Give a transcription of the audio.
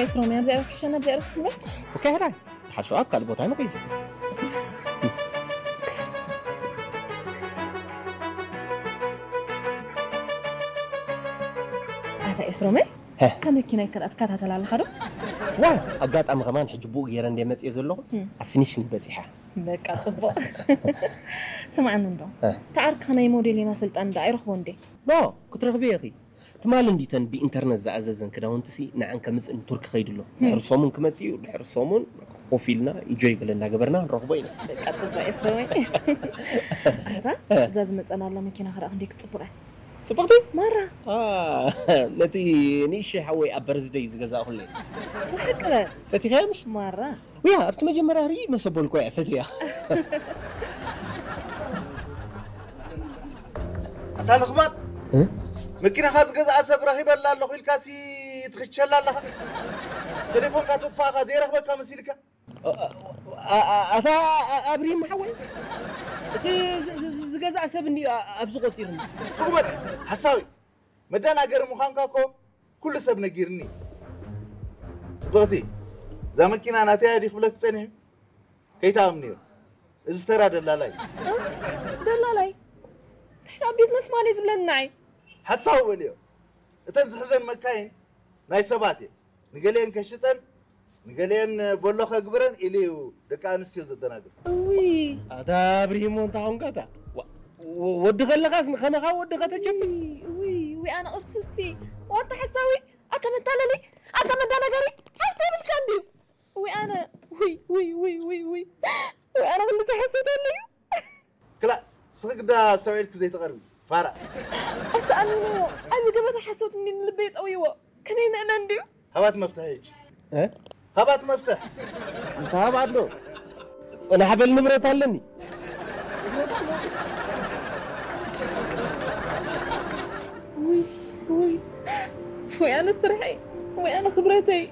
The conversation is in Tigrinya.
ኤስትሮም፣ ኣብዚኣ ዶ ትሕሸና፣ ኣብዚኣ ዶ ክትምረት? ወካሕራይ ሓሾ ኣብ ካልእ ቦታ ንኸይድ። ኣታ ኤስትሮመይ፣ ሀ። እታ መኪና ይከዳ ትከታተል ኣለኻ ዶ? ዋ ኣጋጣሚ ከማን ሕጂ ብኡ ገይረ እንደ መፅየ ዘለኹ ኣብ ፊኒሽንግ በፂሓ። በቃ ጽቡቕ። ስምዓኒ እንዶ፣ እ። ተዓርካ ናይ ሞዴሊና ስልጣን ዶ ኣይረኽቦ እንዴ? ኖ ክትረኽቢ ኢኺ። ትማሊ እንዲተን ብኢንተርነት ዝኣዘዘን ክዳውንትሲ ንዓን ከምፅእ ቱርኪ ከይዱ ኣሎ። ድሕሪ ሰሙን ክመፅእ እዩ። ድሕሪ ሰሙን ኮፍ ኢልና ኢንጆይ ገለ እናገበርና ንረኽቦ ኢና። በቃ ጽቡቕ ኤስትሮመይ። ኣታ እዛ ዝመጸና ኣላ መኪና ከዳ ክንደይ ክትጽብቕ እያ። ፅብቕቲ ማራ አ፣ ነቲ ንእሽተይ ሓወይ ኣብ በርዝደይ ዝገዛእኩለይ ብሓቂ በል ፈቲኸያ ምሽ ማራ ውያ ኣብቲ መጀመርያ ርኢ መሰበልኮ እያ ፈትያ። ኣታ ለኽባጥ፣ መኪናኻ ዝገዝኣ ሰብ ረኺበላ ኣለኹ ኢልካሲ ትኽቸላ ኣለኻ። ቴሌፎንካ ተጥፋእኻ ዘይረኽበካ መሲልካ። ኣታ ኣብሪሂም ሓወይ፣ እቲ ዝ- ዝ- ዝ- ዝገዝኣ ሰብ እንዲ ኣብዚ ቆፂርኒ። ሱቕ በል ሓሳዊ፣ መደናገሪ ምዃንካ እኮ ኩሉ ሰብ ነጊርኒ። ጽብቕቲ፣ እዛ መኪና ናተይ እያ ድዩ ክብለኪ ጸኒሑ? ከይትኣምንዮ፣ እዚ ተራ ደላላይ እዩ። ደላላይ እንታይ ደኣ ቢዝነስ ማን እዩ ዝብለኒ ንዓይ? ሓሳዊ በልዮ። እተን ዝሕዘን መካይን ናይ ሰባት እየን። ንገሊአን ከሽጠን፣ ንገሊአን በሎ ከግብረን ኢሉ እዩ ደቂ ኣንስትዮ ዘደናግር። እውይ ኣታ ኣብሪሂሞ እንታይ ኾንካ እታ ዋ- ወ- ወዲ ከለኻስ ከማኻ ወዲ ከተቸብስ ውይ ውይ ውይ ኣነ ቅርስስቲ ዋታ ሓሳዊ ኣታ መታለሊ ኣታ መዳናገሪ ሓፍታ ይብልካ እንድዩ ውይ ኣነ ውይ ውይ ውይ ውይ ውይ ውይ ኣነ ክንዲ ዝሓሰተሉ እዩ ክላ ስኺ ግዳ ሰብዒልኪ ዘይተቐርቢ ፋራ። ኣታ ኣሚንዮ ዓቢ ገበታ ሓሶት እንዲ ንልበይ ጠውይዎ ከመይ ምእመን ድዩ ሃባት መፍትሒ ሕጂ እ? ሃባት መፍትሕ እንተ ሃባ ኣሎ ፅናሕ በል ንብረት ኣለኒ። ውይ ውይ ውይ ኣነ ስርሐይ ውይ ኣነ ክብረተይ